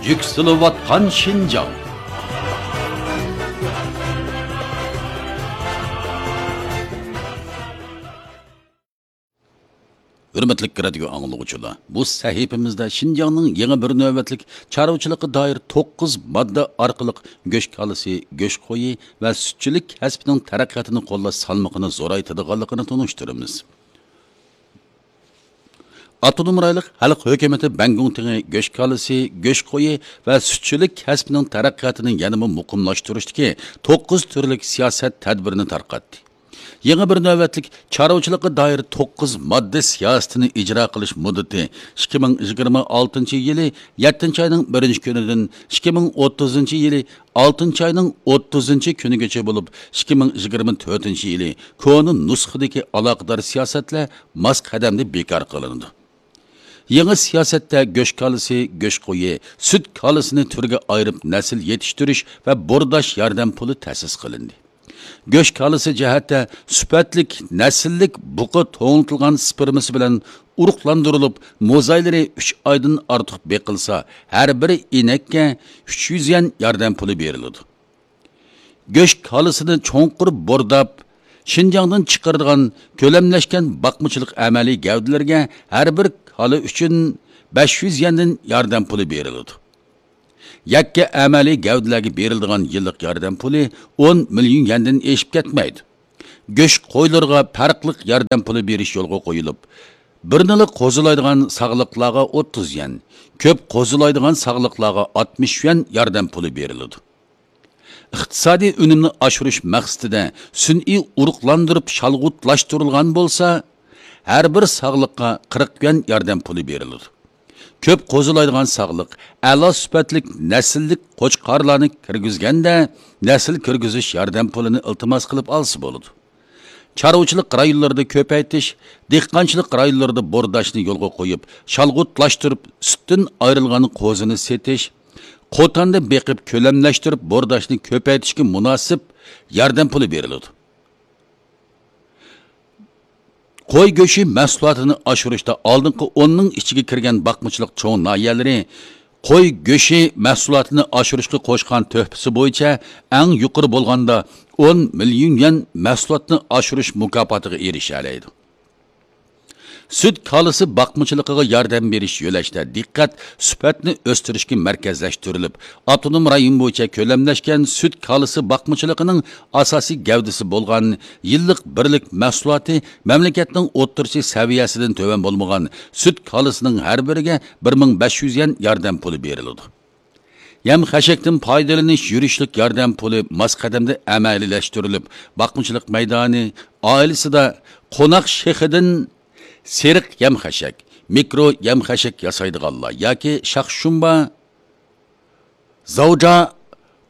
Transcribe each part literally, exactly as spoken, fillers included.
يۈكسىلىۋاتقان شىنجاڭ. ھۆرمەتلىك رادىيو ئاڭلىغۇچىلار، بۇ سەھىپىمىزدە شىنجاڭنىڭ يېڭى بىر نۆۋەتلىك چارۋىچىلىققا دائىر توققۇز ماددا ئارقىلىق گۆش كالىسى، گۆش قويى ۋە سۈتچىلىك كەسپىنىڭ تەرەققىياتىنى قوللاش سالمىقىنى زورايتىدىغانلىقىنى تونۇشتۇرىمىز. ئاپتونوم رايونلۇق خەلق ھۆكۈمىتى بەنگۇڭ تېڭى گۆش كالىسى، گۆش قويى ۋە سۈتچىلىك كەسپىنىڭ تەرەققىياتىنى يەنىمۇ مۇقىملاشتۇرۇشتىكى توققۇز تۈرلۈك سىياسەت تەدبىرىنى تارقاتتى. يېڭى بىر نۆۋەتلىك چارۋىچىلىققا دائىر توققۇز ماددا سىياسىتىنى ئىجرا قىلىش مۇددىتى ئىككى مىڭ يىگىرمە ئالتىنچى يىلى يەتتىنچى ئاينىڭ بىرىنچى كۈنىدىن ئىككى مىڭ ئوتتۇزىنچى يىلى ئالتىنچى ئاينىڭ ئوتتۇزىنچى كۈنىگىچە بولۇپ، ئىككى مىڭ يىگىرمە تۆتىنچى يىلى كونا نۇسخىدىكى ئالاقىدار سىياسەتلەر ماس قەدەمدە بىكار قىلىنىدۇ. يېڭى سىياسەتتە گۆش كالىسى، گۆش قويى، سۈت كالىسىنى تۈرگە ئايرىپ نەسىل يېتىشتۈرۈش ۋە بورداش ياردەم پۇلى تەسىس قىلىندى. گۆش كالىسى جەھەتتە سۈپەتلىك، نەسىللىك بۇقا توڭلىتىلغان سپېرمىسى بىلەن ئۇرۇقلاندۇرۇلۇپ، موزايلىرى ئۈچ ئايدىن ئارتۇق بېقىلسا، ھەر بىر ئىنەككە ئۈچ يۈز يۈەن ياردەم پۇلى بېرىلىدۇ. گۆش كالىسىنى چوڭقۇر بورداپ، شىنجاڭدىن چىقىرىدىغان كۆلەملەشكەن باقمىچىلىق ئەمەلىي گەۋدىلىرىگە ھەر بىر كالا ئۈچۈن بەش يۈز يەندىن ياردەم پۇلى بېرىلىدۇ. يەككە ئەمەلىي گەۋدىلەرگە بېرىلىدىغان يىللىق ياردەم پۇلى ئون مىليون يەندىن ئېشىپ كەتمەيدۇ. گۆش قويلىرىغا پەرقلىق ياردەم پۇلى بېرىش يولغا قويۇلۇپ، بىرنىلا قوزىلايدىغان ساغلىقلارغا ئوتتۇز يۈەن، كۆپ قوزىلايدىغان ساغلىقلارغا ئاتمىش يۈەن ياردەم پۇلى بېرىلىدۇ. ئىقتىسادىي ئۈنۈمنى ئاشۇرۇش مەقسىتىدە سۈنئىي ئۇرۇقلاندۇرۇپ شالغۇتلاشتۇرۇلغان بولسا، ھەر بىر ساغلىققا قىرىق يۈەن ياردەم پۇلى بېرىلىدۇ. كۆپ قوزىلايدىغان ساغلىق، ئەلا سۈپەتلىك نەسىللىك قوچقارلارنى كىرگۈزگەندە، نەسىل كىرگۈزۈش ياردەم پۇلىنى ئىلتىماس قىلىپ ئالسا بولىدۇ. چارۋىچىلىق رايونلىرىدا كۆپەيتىش، دېھقانچىلىق رايونلىرىدا بورداشنى يولغا قويۇپ، شالغۇتلاشتۇرۇپ، سۈتتىن ئايرىلغان قوزىنى سېتىش، قوتاندا بېقىپ كۆلەملەشتۈرۈپ، بورداشنى كۆپەيتىشكە مۇناسىپ ياردەم پۇلى بېرىلىدۇ. قوي گۆشى مەھسۇلاتىنى ئاشۇرۇشتا ئالدىنقى ئوننىڭ ئىچىگە كىرگەن باقمىچىلىق چوڭ ناھىيەلىرى قوي گۆشى مەھسۇلاتىنى ئاشۇرۇشقا قوشقان تۆھپىسى بويىچە ئەڭ يۇقىرى بولغاندا ئون مىليون يۈەن مەھسۇلاتنى ئاشۇرۇش مۇكاپاتىغا ئېرىشەلەيدۇ. سۈت كالىسى باقمىچىلىقىغا ياردەم بېرىش يۆلەشتە دىققەت سۈپەتنى ئۆستۈرۈشكە مەركەزلەشتۈرۈلۈپ، ئاپتونوم رايون بويىچە كۆلەملەشكەن سۈت كالىسى باقمىچىلىقىنىڭ ئاساسىي گەۋدىسى بولغان يىللىق بىرلىك مەھسۇلاتى مەملىكەتنىڭ ئوتتۇرىچە سەۋىيەسىدىن تۆۋەن بولمىغان سۈت كالىسىنىڭ ھەر بىرىگە بىر مىڭ بەش يۈز يۈەن ياردەم پۇلى بېرىلىدۇ. يەم خەشەكتىن پايدىلىنىش يۈرۈشلۈك ياردەم پۇلى ماس قەدەمدە ئەمەلىيلەشتۈرۈلۈپ، باقمىچىلىق مەيدانى ئائىلىسىدا قوناق شېخىدىن سېرىق يەم خەشەك، مىكرو يەم خەشەك ياسايدىغانلار ياكى شاخشۇمبا، زاۋجا،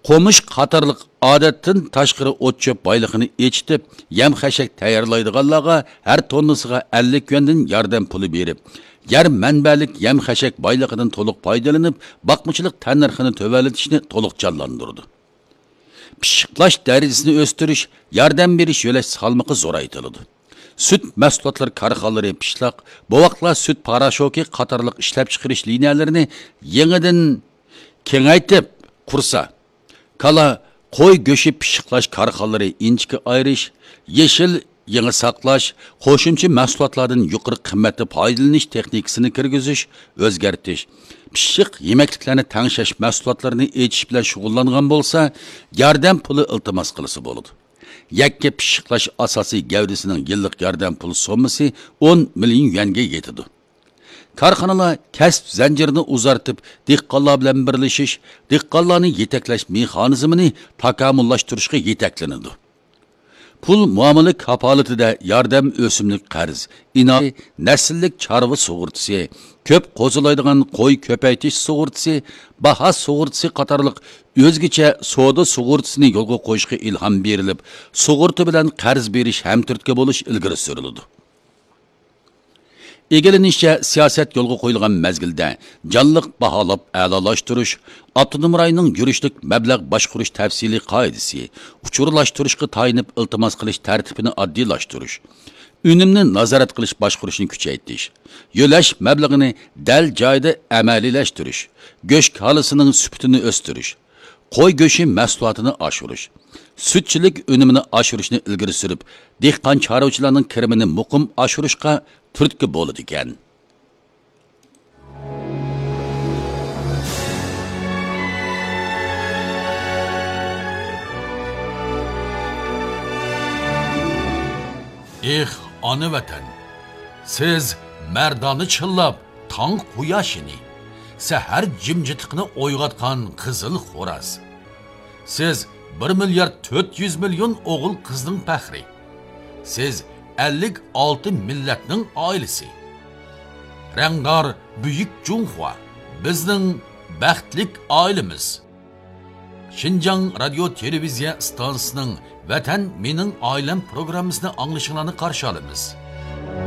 قومۇش قاتارلىق ئادەتتىن تاشقىرى ئوت-چۆپ بايلىقىنى ئېچىتىپ، يەم خەشەك تەييارلايدىغانلارغا ھەر توننىسىغا ئەللىك يۈەندىن ياردەم پۇلى بېرىپ، يەر مەنبەلىك يەم خەشەك بايلىقىدىن تولۇق پايدىلىنىپ، باقمىچىلىق تەننىرخىنى تۆۋەنلىتىشنى تولۇق جانلاندۇرىدۇ. پىششىقلاش دەرىجىسىنى ئۆستۈرۈش، ياردەم بېرىش يۆلەش سالمىقى زورايتىلىدۇ. سۈت مەھسۇلاتلىرى كارخانىلىرى پىشلاق، بوۋاقلار سۈت پاراشوكى قاتارلىق ئىشلەپچىقىرىش لىنىيەلىرىنى يېڭىدىن كېڭەيتىپ قۇرسا، كالا، قوي گۆشى پىششىقلاش كارخانىلىرى ئىنچىكە ئايرىش، يېشىل يېڭى ساقلاش، قوشۇمچە مەھسۇلاتلاردىن يۇقىرى قىممەتتە پايدىلىنىش تېخنىكىسىنى كىرگۈزۈش، ئۆزگەرتىش، پىششىق يېمەكلىكلەرنى تەڭشەش مەھسۇلاتلىرىنى ئېچىش بىلەن شۇغۇللانغان بولسا، ياردەم پۇلى ئىلتىماس قىلسا بولىدۇ. يەككە پىششىقلاش ئاساسىي گەۋدىسىنىڭ يىللىق ياردەم پۇل سوممىسى ئون مىليون يۈەنگە يېتىدۇ. كارخانىلار كەسىپ زەنجىرىنى ئۇزارتىپ، دېھقانلار بىلەن بىرلىشىش، دېھقانلارنى يېتەكلەش مېخانىزمىنى تاكامۇللاشتۇرۇشقا يېتەكلىنىدۇ. پۇل مۇئامىلە كاپالىتىدە ياردەم ئۆسۈملۈك قەرز، ئىناۋەت، نەسىللىك چارۋا سۇغۇرتىسى، كۆپ قوزىلايدىغان قوي كۆپەيتىش سۇغۇرتىسى، باھا سۇغۇرتىسى قاتارلىق ئۆزگىچە سودا سۇغۇرتىسىنى يولغا قويۇشقا ئىلھام بېرىلىپ، سۇغۇرتا بىلەن قەرز بېرىش ھەمتۈرتكە بولۇش ئىلگىرى سۈرۈلىدۇ. ئىگىلىنىشىچە، سىياسەت يولغا قويۇلغان مەزگىلدە جانلىق باھالاپ ئەلالاشتۇرۇش، ئاپتونوم رايوننىڭ يۈرۈشلۈك مەبلەغ باشقۇرۇش تەپسىلىي قائىدىسى، ئۇچۇرلاشتۇرۇشقا تايىنىپ ئىلتىماس قىلىش تەرتىپىنى ئاددىيلاشتۇرۇش، ئۈنۈمنى نازارەت قىلىش باشقۇرۇشنى كۈچەيتىش، يۆلەش مەبلىغىنى دەل جايىدا ئەمەلىيلەشتۈرۈش، گۆش كالىسىنىڭ سۈپىتىنى ئۆستۈرۈش، قوي گۆشى مەھسۇلاتىنى ئاشۇرۇش، سۈتچىلىك ئۈنۈمىنى ئاشۇرۇشنى ئىلگىرى سۈرۈپ، دېھقان چارۋىچىلارنىڭ كىرىمىنى مۇقىم ئاشۇرۇشقا تۈرتكە بولىدىكەن. ئېھ، ئانا ۋەتەن! سىز مەردانە چىللاپ تاڭ قۇياشىنى، سەھەر جىمجىتلىقىنى ئويغاتقان قىزىل خوراز. سىز بىر مىليارد تۆت يۈز مىليون ئوغۇل قىزنىڭ پەخرى. سىز ئەللىك ئالتە مىللەتنىڭ ئائىلىسى. رەڭدار بۈيۈك جۇڭخۇا، بىزنىڭ بەختلىك ئائىلىمىز. شىنجاڭ رادىيو تېلېۋىزىيە ئىستانسىسىنىڭ ۋەتەن مېنىڭ ئائىلەم پروگراممىسىنى ئاڭلىشىڭلارنى قارشى ئالىمىز.